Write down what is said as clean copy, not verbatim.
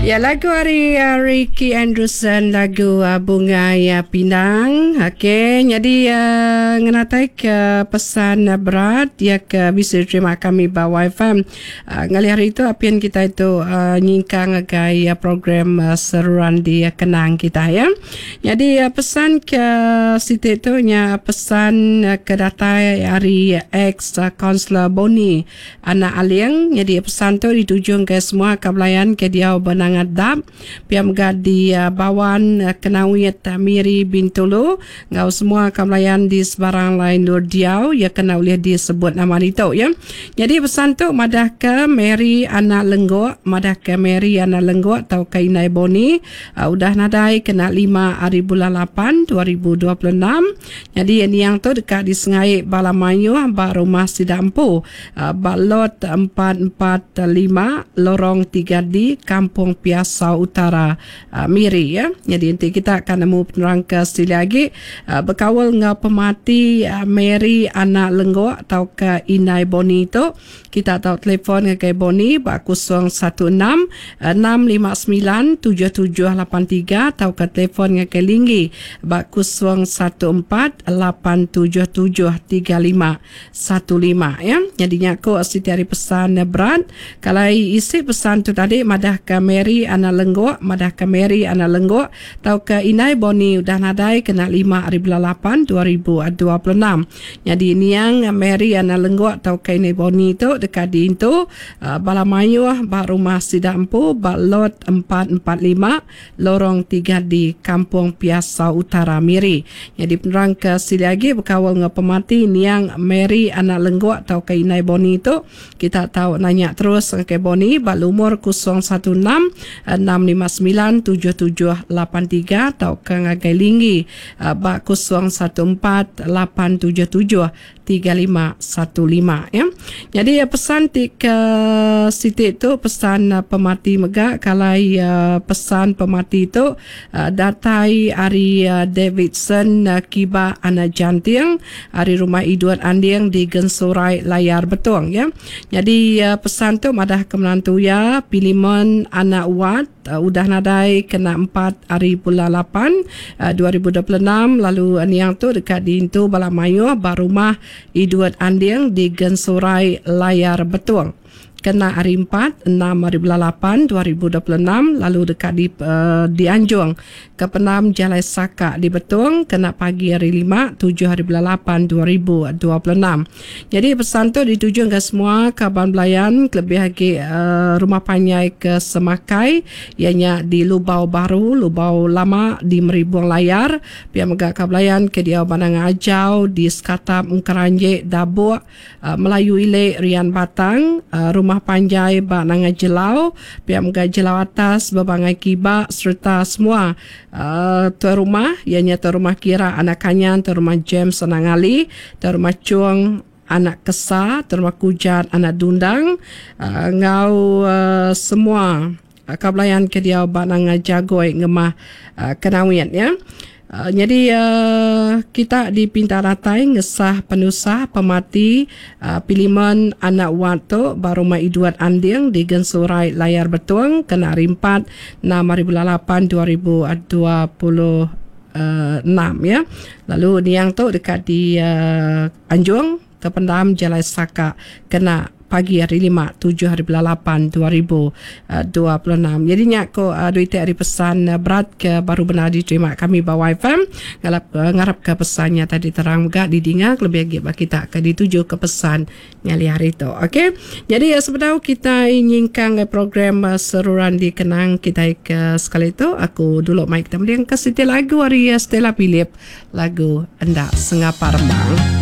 Ya lagu ari uh, Ricky Anderson lagu uh, Bungai uh, Pinang. Okey, jadi uh, ngenatai ke pesan uh, berat ya ke bisi terima kami ba YFM. Uh, ngalih hari itu apian kita itu uh, nyingkang agai uh, program uh, seruran di uh, kenang kita ya. Jadi uh, pesan ke siti tu nya pesan uh, ke datai ari ex uh, Councillor Boni Anak Aling nyadi pesan tu dituju ngagai semua ka belayan ke diau ba Nanga Dap, pia mega di Bawan, Kenawit, Miri, Bintulu enggau semua ka belayan di sebarang alai endur diau iya ke enda ulih disebut nama ditu iya. Nyadi pesan tu madahka Mary Anak Lenggok madahka Mary Anak Lenggok tauka Indai Boni udah nadai kena lima ari bulan lapan 2026. Nyadi niang tu deka disengai bala mayuh ba rumah sida empu ba Lot 445 Lorong 3D Kampung Piasau Utara, Miri. Nyadi enti kita ka nemu penerang ke silik agi bekaul enggau pemati Mary Anak Lenggok tauka Indai Boni tu, kita tau telefon ngagai Boni ba 016 659 7783 tauka telefon ngagai Linggi ba 014 877 3515 ya. Nyadi nya ku siti ari pesan berat. Kalai isi pesan tu tadi madahka Mary Anak Lenggok, madahka Mary Anak Lenggok tauka Indai Boni udah nadai kena lima ari bulan lapan 2026. Nyadi niang Mary Anak Lenggok tauka Indai Boni tu deka diintu bala mayuh ba rumah sida empu ba Lot 445 Lorong 3D Kampung Piasau Utara Miri. Nyadi penerang ke silik agi bekaul enggau pemati niang Mary Anak Lenggok tauka Indai Boni tu kita tau nanya terus ngagai Boni ba lumur 016 659 7783 tauka ngagai Linggi ba 014 877 3515 ya. Nyadi pesan ti ke siti tu pesan pemati mega kalai pesan pemati tu datai ari Davidson Kiba Anak Janting ari Rumah Idut Anding di Gensurai Layar Betong ya. Nyadi pesan tu madah ke menantu iya Pilimon Anak Wat udah nadai kena empat ari bulan lapan 2026 lalu niang tu deka diintu bala mayuh ba Rumah Idut Anding di Gensurai Layar Betong kena hari empat enam ari bulan lapan 2026 lalu deka di dianjung ke pendam Jalai Saka di Betong kena pagi hari lima tujuh ari bulan lapan 2026. Nyadi pesan tu dituju ngagai semua kaban belayan kelebih agi rumah panjai ke Semakai iya nya di Lubau Baru, Lubau Lama di Meribung Layar, pia mega kaban belayan ke diau ba Nanga Ajau di Sekatap Engkeranjik Dabuk, Melayu Ili Rian Batang, rumah panjai ba Nanga Jelau, pia mega Jelau Atas Bebangai Kiba sereta semua Tuai rumah iya nya Tuai Rumah Kira anak Kanyan, Tuai Rumah James anak Ngali, Tuai Rumah Chung anak Kesa, Tuai Rumah Kujat anak Dundang enggau semua ka belayan ke diau ba Nanga Jagoi ngemah Kenawit ya. Nyadi kita dipinta datai ngesah penusah pemati Pilimen anak Wat tu ba Rumah Idut Anding di Gensurai Layar Betong kena hari empat enam hari bulan lapan 2026 ya. Lalu niang tu deka di anjung ke pendam Jalai Saka kena pagi hari lima tujuh hari bulan lapan 2026. Jadi nya ko dua iti ari pesan berat ke baru bendar diterima kami ba YFM. Ngalap ngarap ke pesan nya tadi terang mega didinga kelebih agi ba kita ke dituju ke pesan ngalih hari tu. Okey. Jadi sebedau kitai nyingkang ngagai program seruran dikenang kitai ke sekali tu aku dulu mai kita mending ke siti lagu ari Stella Philip lagu Enda Sengapa Rembang.